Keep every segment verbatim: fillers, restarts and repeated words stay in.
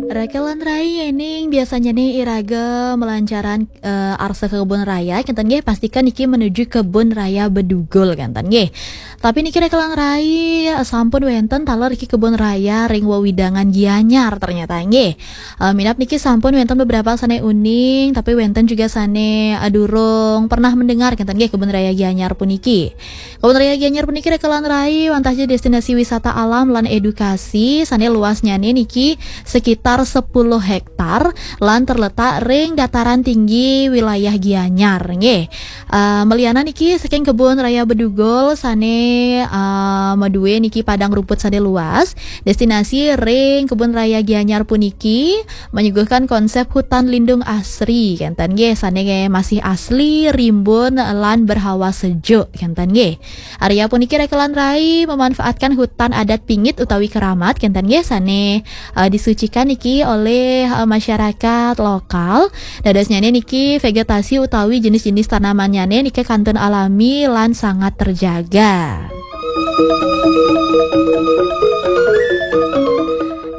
Raka lan rai, yéning biasanya nih iraga melancaran, eh, arsa ke kebun raya, kinten nggih, pastikan niki menuju kebun raya Bedugul, kinten nggih. Tapi niki raka lan rai, eh, sampun wénten taler niki kebun raya ring wewidangan Gianyar ternyata nggih. Eh, minab niki sampun wénten beberapa sané uning, tapi wénten juga sané, eh, durung pernah mendengar, kinten nggih, kebun raya Gianyar puniki. Kebun Raya Gianyar puniki raka lan rai wantah ja destinasi wisata alam lan edukasi sané luasnyané niki sekitar sepuluh hektar lan terletak ring dataran tinggi wilayah Gianyar nggih. Eh, meliana niki saking Kebun Raya Bedugul sané, eh, madué niki padang rumput sané luas, destinasi ring Kebun Raya Gianyar puniki menyuguhkan konsep hutan lindung asri, kinten nggih, sané masih asli, rimbun, lan berhawa sejuk, kinten nggih. Area puniki raka lan rai memanfaatkan hutan adat pingit utawi keramat, kinten nggih, sané, eh, disucikan niki oleh, eh, masyarakat lokal. Dadosnyané niki vegetasi utawi jenis-jenis tanamannya niki kantun alami lan sangat terjaga.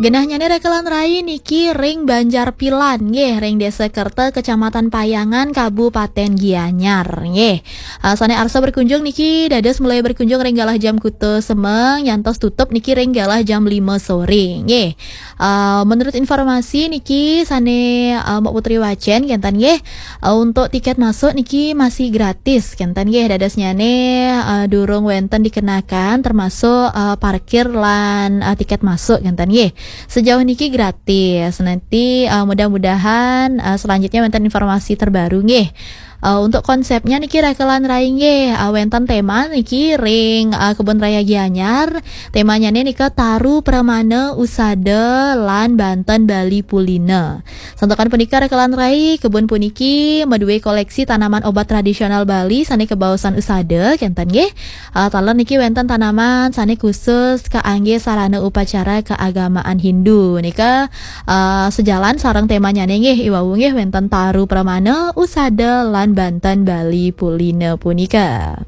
Genahnyané raka lan rai niki ring Banjar Pilan nggih, ring Desa Kerta, Kecamatan Payangan, Kabupaten Gianyar nggih. Ah, sané arsa berkunjung niki dados mulai berkunjung ring galah jam kutus semeng nyantos tutup niki ring galah jam lima sore nggih. Ah, menurut informasi niki sané, ah, Mbak Putri wacén kinten nggih, eh, untuk tiket masuk niki masih gratis, kinten nggih, dadosnyané, eh, durung wénten dikenakan, termasuk, eh, parkir lan, eh, tiket masuk, kinten nggih. Sejauh niki gratis. Nanti, eh, mudah-mudahan, eh, selanjutnya wénten informasi terbaru nggih. Eh, untuk konsepnya niki raka lan rai nggih, eh, wénten tema niki ring, eh, Kebun Raya Gianyar. Temanyané nika Taru Pramana Usada lan Banten Bali Pulina. Santukan punika raka lan rai, kebun puniki madué koleksi tanaman obat tradisional Bali sané kabaosan usada, kinten nggih. Ah, taler niki wénten tanaman sané khusus kaanggé sarana upacara keagamaan Hindu. Nika, ah, sejalan sareng temanyané nggih, iwau nggih wénten Taru Pramana, Usada, lan Banten Bali Pulina punika.